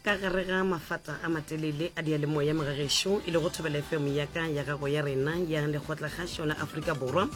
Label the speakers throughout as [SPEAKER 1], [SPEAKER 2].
[SPEAKER 1] Ka gare ga mafata a matelele a diyalemoya mogagešo e lego Thobela FM ya ka ya gago ya rena ya Lekgotlakgašo la Afrika Borwa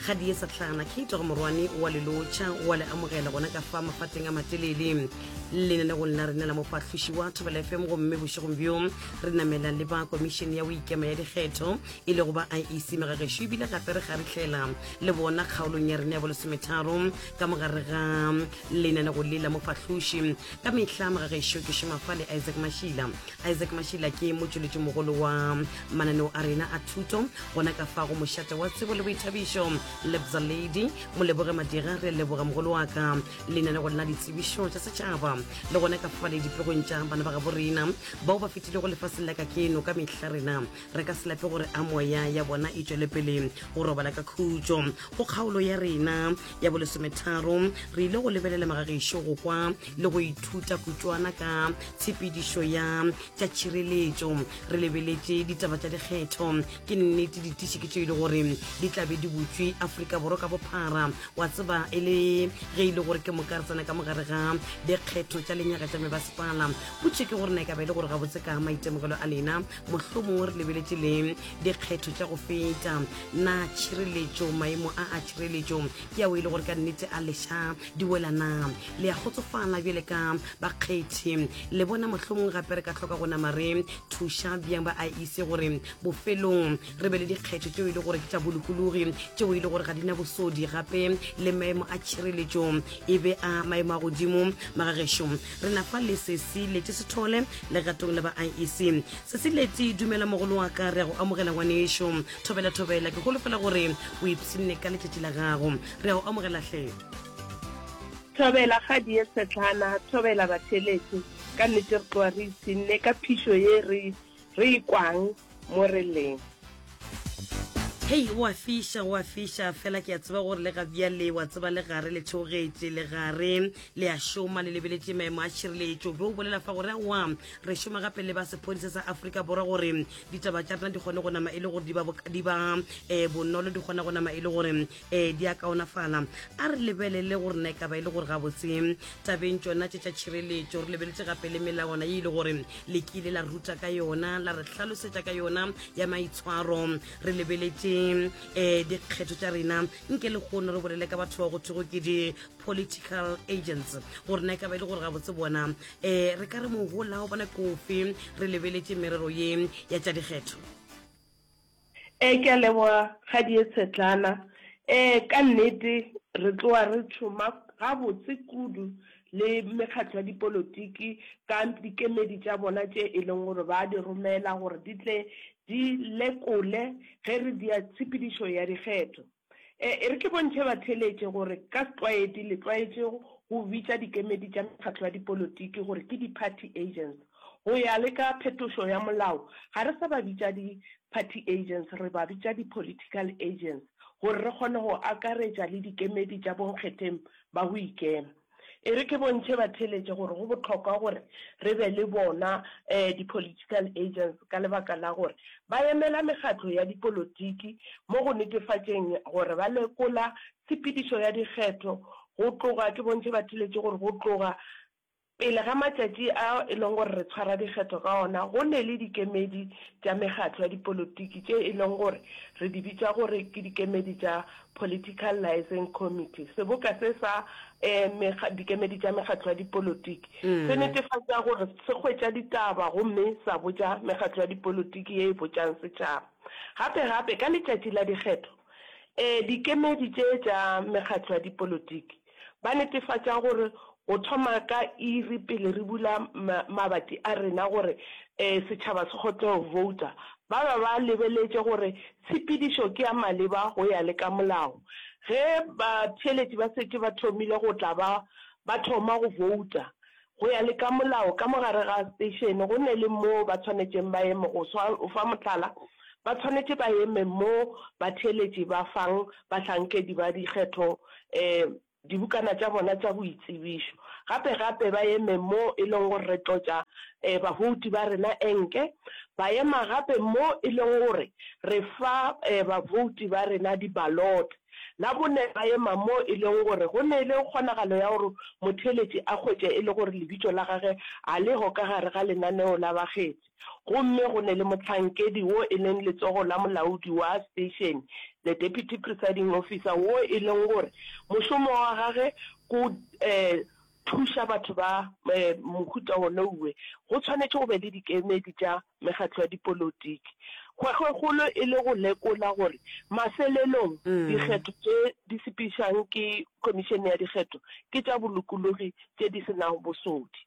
[SPEAKER 1] ga di sa hlana Kate go morwane wa le lotšha wa le amogela gona ka fa mafateng a matelele lenanegong la rena la mofahloši wa Thobela FM gomme bošegong bjo re namela le ba komišene ya go ikema ya dikgetho e lego ba IEC megagešo ebile gape re garihlela le bona kgaolong ya rena ya bolesometharo ka mogare ga lenanego le la mofahloši Ka mehla mogagešo ke šoma fa le Isaac Mashila. Isaac Mashila ke motšweletši mogolo wa mananeo a rena a thuto gona ka fa go mošate wa tsebo le boithabišo. Lebza Lady Moleboge Madira, re leboga mogolo wa ka lenanego la ditsebišo tša setšhaba le gona ka fa le dipegong tša bana ba gabo rena bao ba fetilego lefaseng la kakeno. Ka mehla rena re ka se lape gore a moya ya bona e tšwele pele go robala ka khutšo. Go kgaolo ya rena ya bolesometharo re ile go lebelela magagešo go kwa le go ithuta kutšwana ka tshepedišo ya tša tšhireletšo. Re lebeletše ditaba tša dikgetho. Ke nnete ditiši ke tše e le gore di tla be di butšwe Afrika Borwa ka bophara. Wa tseba e le ge e le gore ke moka re tsena ka mogare ga dikgetho tša lenyaga tša mebasepala. Potšo ke gore na e ka ba e le gore gabotse ka maitemogelo a lena mohlomongwe re lebeletše le dikgetho tša go feta, na tšhireletšo, maemo a a tšhireletšo ke ao e le gore ka nnete a leša di wela na? Le a kgotsofala bjale ka bakgethi? Le bona mohlomongwe gape re ka hloka go nama re thuša bjang ba IEC gore bofelong re be le dikgetho tšeo e le gore ke tša bolokologi, tšeo e le gore ga di na bosodi, gape le maemo a tšhireletšo e be a maemo a godimo? Magagešo, re na fa le Sesi Leti Sethole legatong la ba IEC. Sesi Leti, dumela mogolo wa ka, re a go amogela ngwanešo. Thobela thobela, ke holofela gore o ipshinne ka letšatši la gago. Re a go amogela hle.
[SPEAKER 2] Thobela Kgadie Tshetlana, thobela batheeletši, ka nnete re tloga re ipshinne ka phišo ye re re e kwang mo re leng.
[SPEAKER 1] Hei, go a fiša, go a fiša, fela ke a tseba gore le ga bjale, wa tseba, le gare le theogetše, le gare le a šoma, le lebeletše maemo a tšhireletšo. Be o bolela fa gore aowa, re šoma gape le ba sephodisa sa Afrika Borwa gore ditaba tša rena di kgone go nama e le gore di ba, di ba eh, bonolo, di kgona go nama e le gore eh, di a kaonafala. A re lebelele gore na e ka ba e le gore gabotse tabeng tšona tše tša tšhireletšo, re lebeletše gape le melawana ye e le gore le kile la ruta ka yona, la re hlalosetša ka yona ya maitshwaro. Re lebeletše um dikgetho tša rena, nke lehono re bolele ka batho ba go thwego ke di-political agents, gore na e ka ba e le gore gabotse bona um re ka re mohola wa bona ke ofe re lebeletše merero ye ya tša dikgetho.
[SPEAKER 2] Ee, ke a leboga Kgadie Tshetlana. Ee, ka nnete re tloga re tšhoma gabotse kudu le mekgatlo ya dipolotiki ka dikemedi tša bona tše e leng gore ba di romela gore di tle di lekole ge re dia tshepedišo ya dikgetho. E, e re ke bontšhe batheeletši gore ka setlwaedi le tlwaetše go bitša dikemedi tša mekgatlo ya dipolotiki gore ke di-party agents. Go ya le ka phetošo ya molao, ga re sa ba bitša di-party agents, re ba bitša di-political agents gore re kgone go akaretša le dikemedi tša bonkgetheng ba go ikema. E re ke bontšhe batheeletši gore go bohlokwa gore re be le bona di-political agents ka lebaka la gore ba emela mekgatlo ya dipolotiki mo go netefatšeng gore ba lekola tshepedišo ya dikgetho go tloga, ke bontšhe batheeletši gore go tloga pele ga matšatši a e leng gore re tshwara dikgetho ka ona go ne le dikemedi tša mekgatlo ya dipolotiki tše e leng gore re di bitša gore ke dikemedi tša Political Liaison Committee. Seboka se sa mekga, dikemedi tša mekgatlo ya dipolotiki se netefatša gore se hwetša ditaba gomme sa botša mekgatlo ya dipolotiki ye e botšang setšhaba. Gape gape, ka letšatši la dikgetho, dikemedi tše tša mekgatlo ya dipolotiki Ba netefatša gore go thoma ka iri pele re bula mabati a rena gore setšhaba se kgone go bouta, ba ba ba lebeletše gore tshepedišo ke ya maleba go ya le ka molao. Ge batheeletši ba setše ba thomile go tla ba ba thoma go bouta go ya le ka molao, ka mo gare ga seteišene go ne le moo ba tshwanetšeng ba eme, go fa mohlala, ba tshwanetše ba eme mo batheeletši ba fang bahlankedi ba dikgetho dibukana tša bona tša boitsebišo. Gape gape ba eme mo e leng gore re tlotša babouti ba rena enke, ba ema gape mo e leng gore re fa babouti ba rena di-ballot. Labone ba ema mo e leng gore go ne le kgonagalo ya gore motheeletši a hwetše e le gore lebitso la gage a leho ka gare ga lenaneo la bakgethi. Gomme go ne le mohlankedi wo e leng letsogo la molaodi wa station, the deputy presiding officer, wo e leng gore mošomo wa gage ko thuša batho ba mohuta wonouwe. Go tshwanetše go be le dikemedi tša mekgatlo ya dipolotiki. Kgwekgwekgolo e le go lekola gore mafelelong dikgetho tše di sepedišang ke Khomišene ya Dikgetho ke tša bolokologi tše di se nago bosodi.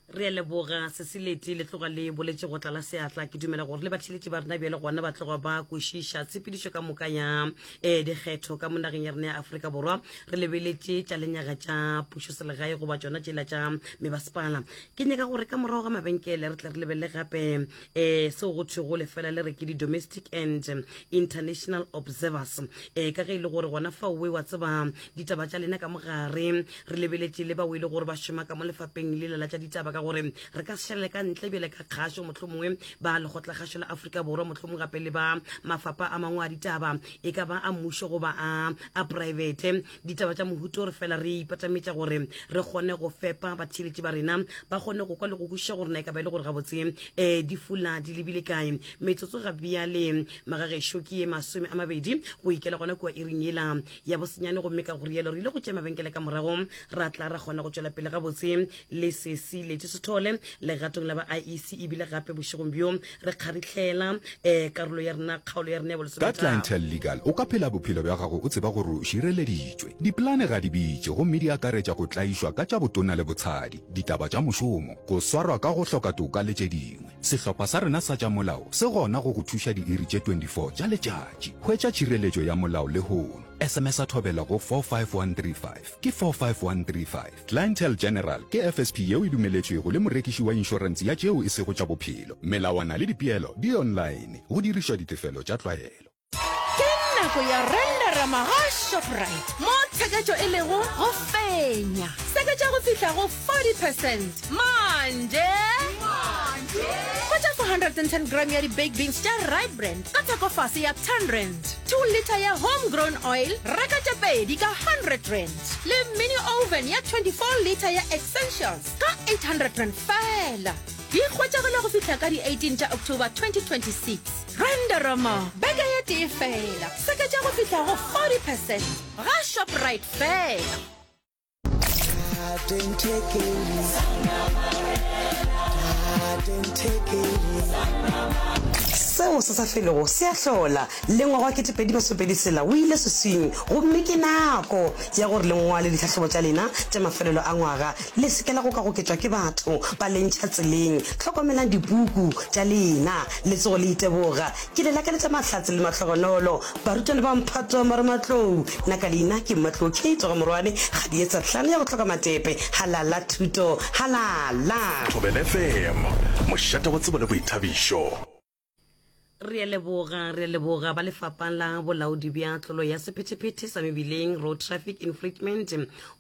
[SPEAKER 1] Re a leboga Sesileti, le tloga le boletše go tlala seatla. Ke dumela gore le batheeletši ba rena bjale gona ba tloga ba kwešiša tshepedišo ka moka ya um dikgetho ka mo nageng ya rena ya Afrika Borwa. Re lebeletše tša lenyaga tša pušoselegae goba tšona tšela tša mebasepala. Ke nyaka gore ka morago ga mabenkele re tle re lebelele gape um seo go thwego lefela le re ke di-domestic and international observers um ka ge e le gore gona fao we wa tseba ditaba tša lena ka mogare. Re lebeletše le bao e le gore ba šoma ka mo lefapeng lela la tša ditaba, ka gore re ka se šalele ka ntle bjale ka kgašo, mohlomongwe ba Lekgotlakgašo la Afrika Borwa, mohlomongwe gape le ba mafapa a mangwe a ditaba, e ka ba a mmušo goba a a praebete. Ditaba tša mohuto re fela re ipatametša gore re kgone go fepa batheeletši ba rena, ba kgone go kwa le go kwešiša gore na e ka ba e le gore gabotse um di fula di lebile kae. Metsotso ga bjale magagešo ke ye 20 go ikela gona kua iring yela ya bosenyane, gomme ka go rialo re ile go tšea mabenkele ka morago ra tla ra kgona go tšwela pele gabotse le sesi Leti Sethole legatong la ba IEC. Ebile gape bošegong bjo re kgarihlela um karolo ya rena, kgaolo ya rena ya
[SPEAKER 3] Ka
[SPEAKER 1] bolesometharo.
[SPEAKER 3] Clientele Legal o ka phela bophelo bja gago o tseba gore o šireleditšwe. Dipolane ga di bitše gomme di akaretša go tlaišwa ka tša botona le botshadi, ditaba tša mošomo, go swarwa ka go hloka toka le tše dingwe. Sehlopha sa rena sa tša molao se gona go go thuša diiri tše 24 tša letšatši. Hwetša tšhireletšo ya molao lehono. SMS-a Thobela go 45135. Ke 45135. Clientele General ke FSP yeo e dumeletšwego le morekiši wa inšorense ya tšeo e sego tša bophelo. Melawana le dipeelo di online go dirišwa ditefelo tša tlwaelo.
[SPEAKER 4] Ke nako ya Renderama ga Shoprite mo tsheketšo e lego go fenya. Seketša go fihla go 40 percent manje. Hwetša 410 gram ya di-baked beans tša Rite Brand ka theko fase ya 10 rand. 2 litre ya home grown oil reka tše pedi ka 100 rand. Le mini oven ya 24 litre ya Essentials ka 800 rand fela. Di hwetšagala go fihla ka di 18 tša October 2026. Renderoma beke ye tee fela, seketša go fihla go 40 percent ga Shoprite fela.
[SPEAKER 1] Seo se sa felego se a hlola. Le ngwaga wa 2026 tshela o ile seswing, gomme ke nako ya gore le ngwale ditlhahlobo tša lena tša mafelelo a ngwaga. Le se ke la gokagoketšwa ke batho ba le ntšha tseleng. Hlokomelang dipuku tša lena, le tsogo le iteboga. Ke le lakaletša mahlatse le mahlogonolo, barutwana ba mphato wa marematlou. Nna ka leina ke Mmatlou Kate wa ga Morwane, Kgadietsa hlano ya go hloka matepe. Halala thuto, halala!
[SPEAKER 5] Thobela FM, mošate wa tsebo le boithabišo.
[SPEAKER 1] Re a leboga, re a leboga ba lefapha la bolaodi bja tlolo ya sephethephethe sa mebileng, Road Traffic Infringement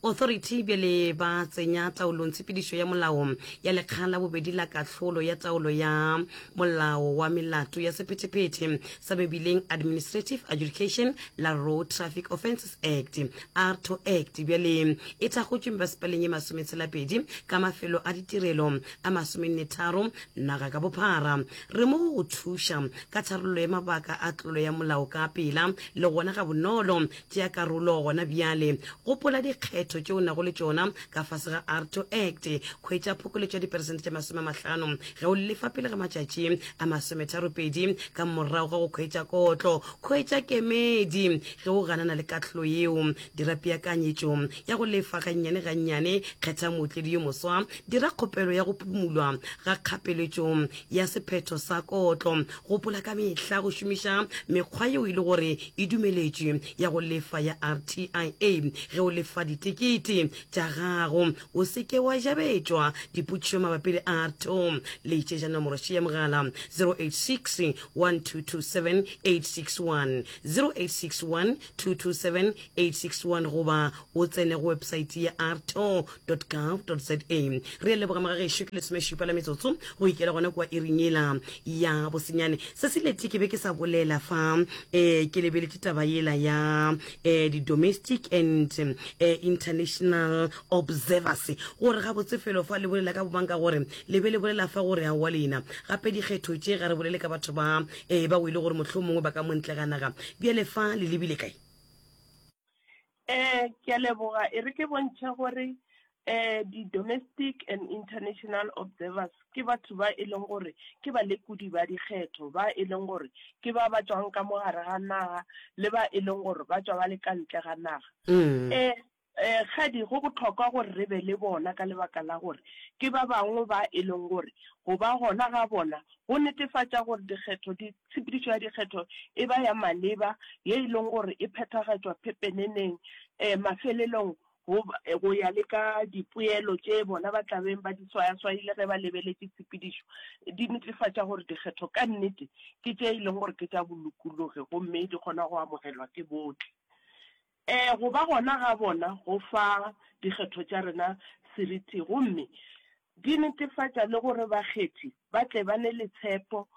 [SPEAKER 1] Authority, bjale ba tsenya taolong tshepedišo ya molao ya lekga la bobedi la kahlolo ya taolo ya molao wa melato ya sephethephethe sa mebileng, Administrative Adjudication la Road Traffic Offences Act, ARTO Act, bjale e thakgotšwe mebasepaleng ye masometshelapedi ka mafelo a ditirelo a masomennetharo naga ka bophara. Re mo go go thuša ka tharollo ya mabaka a tlolo ya molao ka pela le gona gabonolo. Tšea karolo gona bjale. Gopola dikgetho tše o nago le tšona ka fase ga ARTO Act. Hwetša phokoletšo ya diperesente tše 50 ge o lefa pele ga matšatši a masometharopedi ka morago ga go hwetša kotlo. Hwetša kemedi ge o ganana le kahlolo yeo. Dira peakanyetšo ya go lefa gannyane gannyane. Kgetha mootledi yo moswa. Dira kgopelo ya go phumulwa ga kgapeletšo ya sephetho sa kotlo. Gopola ka mehla go šomiša mekgwa yeo e le gore e dumeletšwe ya go lefa ya RTIA ge o lefa ditekete tša gago. O se ke wa jabetšwa dipotšišo mabapi le ARTO. Letšetša nomoro še ya mogala 086 1227 861, 0861 227 861 goba o tsene go websaete ya arto gov za. Re a leboga magagešo, ke lesomešupa la metsotso go ikela gona kua iring yela ya bosenyane. Se se leti ke be ke sa bolela fa um ke lebeletše taba yela ya um di-domestic and um international observers gore gabotse felo fa le bolela ka bomang ka gore le be le bolela fa gore aowa lena gape dikgetho tše ga re bolele ka batho ba um ba o ile gore mohlomongwe ba ka montle ga naga bjale fa le lebile kae?
[SPEAKER 2] Eh, ke a leboga. E re ke bontšhe gore eh di-domestic and international observers ke batho ba e leng gore ke balekodi ba dikgetho, ba e leng gore ke ba ba tšwang ka mo gare ga naga le ba e leng gore ba tšwa ba le ka ntle ga naga. Eh, eh, kgadi go bohlokwa gore re be le bona ka lebaka la gore ke ba bangwe ba e leng gore go ba gona ga bona go netefatša gore dikgetho di, tshepedišo ya dikgetho e ba ya maleba, ye e leng gore e phethagatšwa pepeneneng, um mafelelong go, go ya le ka dipoelo tše bona ba tla beng ba di swayaswayile ge ba lebeletše tshepedišo, di netefatša gore dikgetho ka nnete ke tše e leng gore ke tša bolokologi gomme di kgona go amogelwa ke bohle. Ee, go ba gona ga bona go fa dikgetho tša rena seriti gomme di netefatša le gore bakgethi ba tle ba ne le tshepo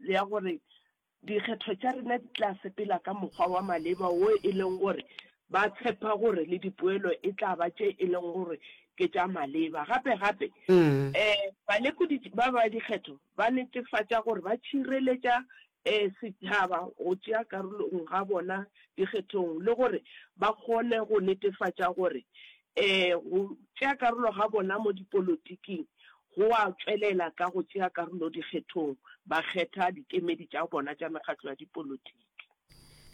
[SPEAKER 2] ya gore dikgetho tša rena di tla sepela ka mokgwa wa maleba wo e leng gore ba tshepa gore le dipoelo e tla ba tše e leng gore ke tša maleba. Gape gape, balekodi ba ba dikgetho ba netefatša gore ba tšhireletša Ee, setšhaba go tšea karolong ga bona dikgethong le gore ba kgone go netefatša gore go tšea karolo ga bona mo dipolotiking go a tšwelela ka go tšea karolo dikgethong ba kgetha dikemedi tša bona tša mekgatlo ya dipolotiki.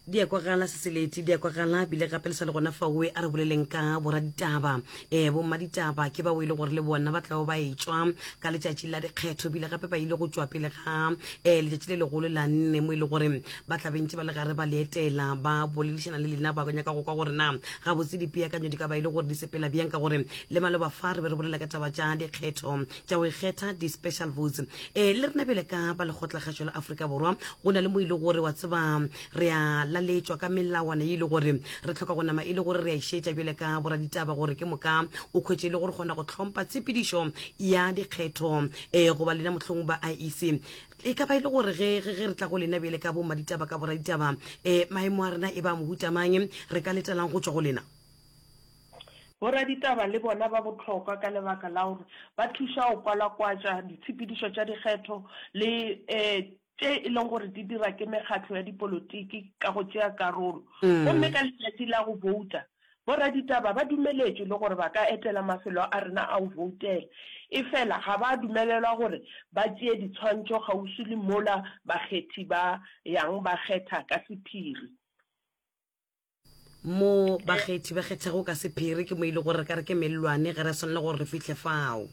[SPEAKER 1] Di a kwagala Seseleti, di a kwagala bile gape le sa le gona faoe a re boleleng ka boraditaba. Um bommaditaba ke bao e le gore le bona ba tla ba etšwa ka letšatši la dikgetho bile gape ba ile go tšwa pele ga um letšatši le legolo la nne mo e le gore ba tla bentše ba le gare ba le etela ba boledišana le lena ba nyaka go kwa gore na gabotse dipeakanyo di ka ba e le gore di sepela bjang ka gore le maloba fa re be re bolela ka taba tša dikgetho tša go ikgetha di-special votes um le rena bjale ka ba lekgotlakgašo la Afrika Borwa go na le mo e le gore wa tseba re a laletšwa ka melawana e le gore re tlhoka go nama e le gore re a išetša bjale ka boraditaba gore ke moka o khwetše e le gore kgona go tlhompha tshepedišo ya dikgetho um goba lena mohlong ba IEC e ka ba e le gore ge ge re tla go lena bjale ka bommaditaba ka boraditaba um maemo a rena e ba mohuta mang re ka letelang go tšwa go lena?
[SPEAKER 2] Boraditaba le bona ba bohlokwa ka lebaka la gore ba thuša go kwalakwatša ditshepedišo tša dikgetho le tše e leng gore di dira ke mekgatlo ya dipolotiki ka go tšea karolo. Gomme ka letšatši la go bouta, boraditaba ba dumeletšwe le gore ba ka etela mafelo a rena a go boutela. Efela ga ba dumelelwa gore ba tšee ditshwantšho kgauswi le mola bakgethi ba yang ba kgetha ka sephiri.
[SPEAKER 1] Mo bakgethi ba kgethago ka sephiri ke mo e le gore re ka re ke mellwane, ga re a swanela gore re fihle fao.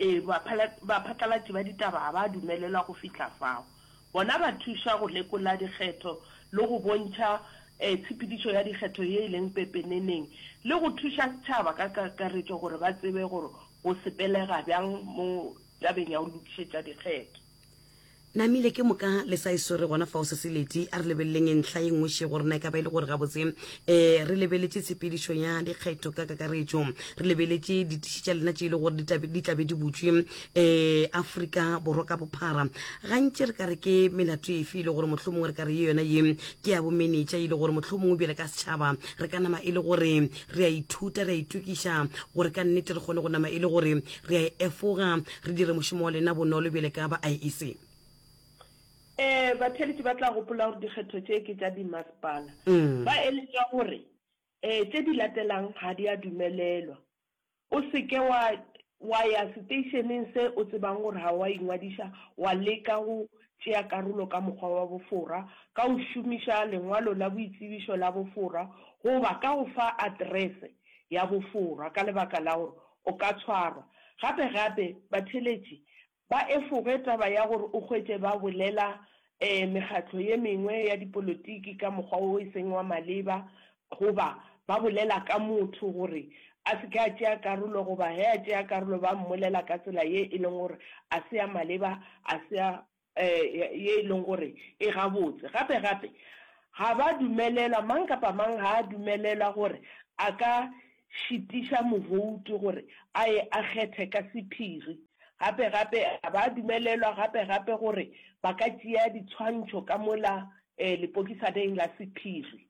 [SPEAKER 2] Ee, baphatlalatši ba ditaba ga ba dumelelwa go fihla fao. Bona ba thuša go lekola dikgetho le go bontšha tshepedišo ya dikgetho ye e leng pepeneneng le go thuša setšhaba ka kakaretšo gore ba tsebe gore go sepelega bjang mo tabeng ya go lokišetša dikgetho.
[SPEAKER 1] Namile ke moka le sa e swere gona fao Seseleti. A re lebeleleng ntlha ye nngwe še gore na e ka ba e le gore gabotse um re lebeletše tshepedišo ya dikgetho ka kakaretšo, re lebeletše ditiši tša lena tše e le gore di tla di tla be di butšwe um Afrika Borwa ka bophara. Gantši re ka re ke melato efe e le gore mohlomongwe re ka re ye yona ye ke ya bomenetša e le gore mohlomongwe bjale ka setšhaba re ka nama e le gore re a ithuta, re a itokiša gore ka nnete re kgone go nama e le gore Re a e efoga, re dire mošomo wa lena bonolo bjale ka ba IEC.
[SPEAKER 2] Ee, batheeletši ba tla gopola gore dikgetho tše ke tša dimasepala. Ba eletšwa gore, Ee, tše di latelang ga di a dumelelwa. O se ke wa wa ya seteišeneng se o tsebang gore ga wa ingwadiša wa leka go tšea karolo ka mokgwa wa bofora ka go šomiša lengwalo la boitsebišo la bofora goba ka go fa aterese ya bofora ka lebaka la gore o ka tshwarwa. Gape gape, batheeletši ba efoge taba ya gore o hwetše ba bolela mekgatlo ye mengwe ya dipolotiki ka mokgwa wo e seng wa maleba goba ba bolela ka motho gore a se ke a tšea karolo goba ge a tšea karolo ba mmolela ka tsela ye e leng gore a se ya maleba, a se ya ye e leng gore e gabotse. Gape gape, ga ba dumelelwa, mang kapa mang ga a dumelelwa gore a ka šitiša mobouti gore a ye a kgethe ka sephiri. Gape gape ga ba dumelelwa gape gape gore ba ka tšea ditshwantšho ka mola lepokisaneng la sephiri.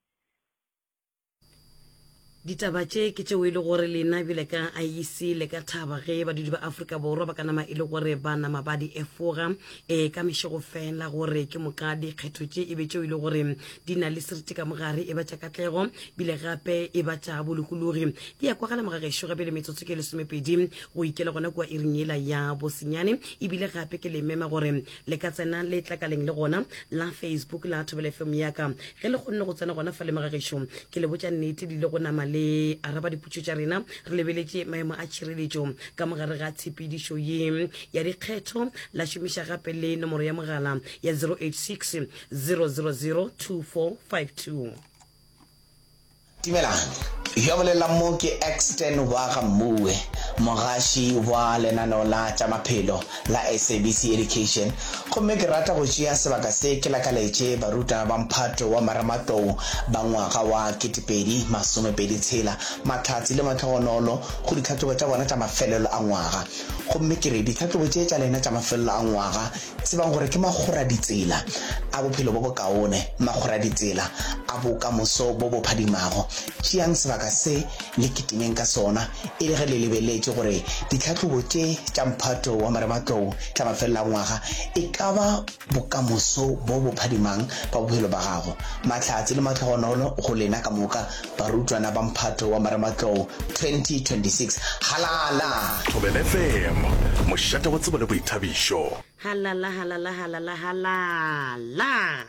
[SPEAKER 1] Ditaba tše ke tšeo e le gore lena bjale ka IEC le ka thaba ge badudi ba Afrika Borwa ba ka nama e le gore ba nama ba di efoga e ka mešego fela gore ke moka dikgetho tše e be tšeo e le gore di na le seriti ka mogare e ba tša katlego bile gape e ba tša bolokologi. Di ya kwagala mogagešo gape le metsotso ke lesomepedi go ikela gona kua iring yela ya bosenyane ebile gape ke le mema gore Le ka tsena letlakaleng le gona la Facebook la Thobela FM ya ka. Ge le kgonne go tsena gona fa le mogagešo, ke le botša nnete le ile go nama le araba dipotšo tša rena re lebeletše maemo a tšhireletšo ka mogare ga tshepedišo ye ya dikgetho. La šomiša gape le nomoro ya mogala ya 086 000 2452.
[SPEAKER 6] Dumelang, yo a bolelang mo ke Exton wa ga Mmuwe, mogaši wa lenaneo la tša maphelo la SABC Education, gomme ke rata go tšea sebaka se ke lakaletše barutwana ba mphato wa marematlou ba ngwaga wa 2026 mahlatse le mahlogonolo go ditlhahlobo tša bona tša mafelelo a ngwaga. Gomme ke re ditlhahlobo tše tša lena tša mafelelo a ngwaga Tsebang gore ke makgoraditsela a bophelo bo bokaone, makgoraditsela a bokamoso bo bo phadimago. Tšeang sebaka se le kitimeng ka sona e le ge le lebeletše gore ditlhahlobo tše tša mphato wa marematlou tša mafelelo a ngwaga e ka ba bokamoso bo bo phadimang ba bophelo ba gago. Mahlatse le mahlogonolo go lena ka moka Barutwana ba mphato wa marematlou 2026. Halala!
[SPEAKER 5] Thobela FM, mošate wa tsebo le boithabišo.
[SPEAKER 1] Halala, halala, halala, halala.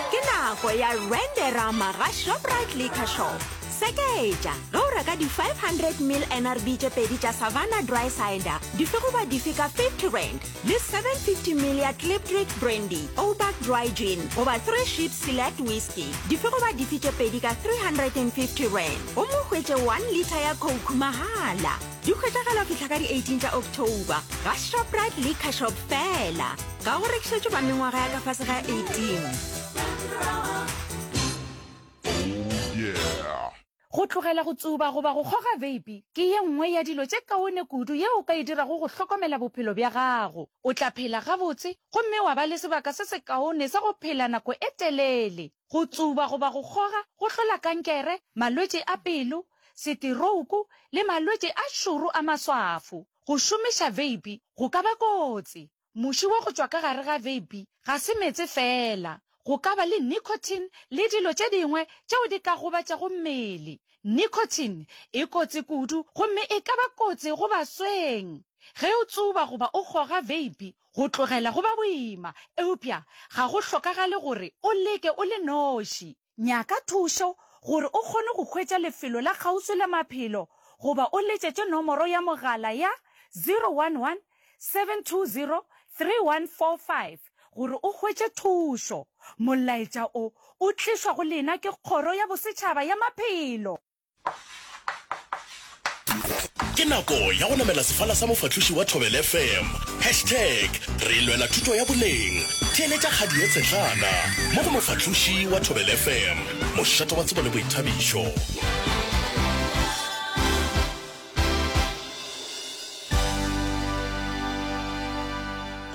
[SPEAKER 4] Ke nako ya Renderama ga Shoprite Liquor Shop. Seketša ge o reka di 500 ml NRB tše pedi tša Savanna Dry Cider dife goba dife ka 50 rand. Le 750 ml ya Klipdrift Brandy, Ouback Dry Gin goba Three Ships Select Whisky, dife goba dife tše pedi ka R350, gomme o hwetše 1 litre ya Coke mahala. Di hwetšagala go fihla ka di 18 tša October ga Shoprite Liquor Shop feela. Ga go rekišetšwe ba mengwaga ya ka fase ga 18.
[SPEAKER 7] Go tlogela go tsuba goba go kgoga veipi ke ye nngwe ya dilo tše kaone kudu yeo o ka e dirago go hlokomela bophelo bja gago. O tla phela gabotse gomme wa ba le sebaka se sekaone sa go phela nako e telele. Go tsuba goba go kgoga go hlola kankere, malwetši a pelo, seterouku le malwetši a šoro a maswafo. Go šomiša veipi go ka ba kotsi. Muši wa go tšwa ka gare ga veipi ga se meetse feela. Go ka ba le nicotine le dilo tše dingwe tšeo di ka gobatšago mmele. Nicotine e kotsi kudu gomme e ka ba kotsi go basweng. Ge o tsuba goba o kgoga veipi, go tlogela go ba boima, eupša ga go hlokagale gore o leke o le noši. Nyaka thušo gore o kgone go hwetša lefelo la kgauswi la maphelo goba o letšetše nomoro ya mogala ya 011 720 3145 gore o hwetše thušo. Molaetša o o tlišwa go lena ke Kgoro ya Bosetšhaba ya Maphelo.
[SPEAKER 5] Ke nako ya go namela sefala sa mofahloši wa Thobela FM. Hashtag re lwela thuto ya boleng. Theeletša kgadi ye tshetlana mo go mofahloši wa Thobela FM, mošate wa tsebo le boithabišo.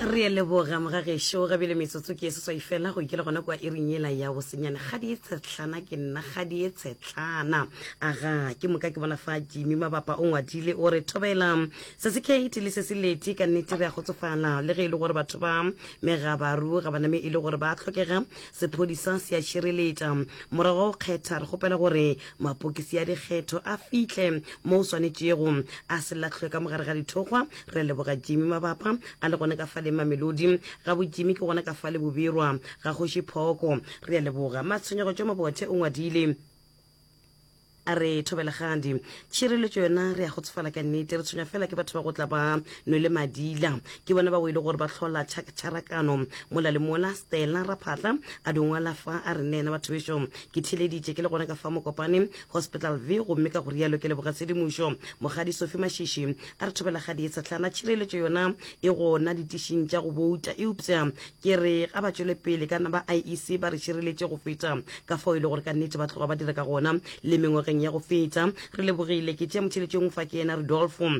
[SPEAKER 1] Re a leboga mogagešo ga bjale metsotso ke e seswai fela go ikela gona kwa iring yela ya bosenyane kgadi e tshetlana ke nna kgadi e tshetlana aga ke moka ke bona fa jimmy mabapa o ngwadile o re thobela se se kate le se se leti ka nnete re a kgotsofala le ge e le gore batho ba megabaru ga ba name e le gore ba tlhokega sephodisa se a šireletša morago go kgetha re kgopela gore mapokisi a dikgetho a fihle mo o swanetšego a se lahlwe ka mogare ga dithokgwa Re leboga Jimmy Mabapa a le gona ka fale Mamelodi. Ga bo Jimmy ke gona ka fale Bobirwa ga Kgoši Phoko. Re a leboga. Matshwenyego tšo Mabothe o ngwadile a re thobelegadi tšhireletšo yona re ya kgotsofala ka nnete re tshwenya fela ke batho ba go tla ba nwele madila ke bona ba o ile gore ba hlola tšharakano mola le mola stella raphatla a dingwala fa a re nena batho bešo ke theleditše ke le gona ka fa mokopane hospital v gomme ka go rialo ke leboga tshedimošo mogadi sophie mashishi A re thobelagadi e tshehlana, tšhireletšo yona e gona ditišing tša go bouta, eupša ke re ga ba tšwele pele ka na ba IEC ba re šireletše go feta ka fao e le gore ka nnete ba tloga ba dira ka gona le mengwageng ya go feta. Re lebogile. Ke tšea motheeletši yo mongwe fa ke yena Rudolfo.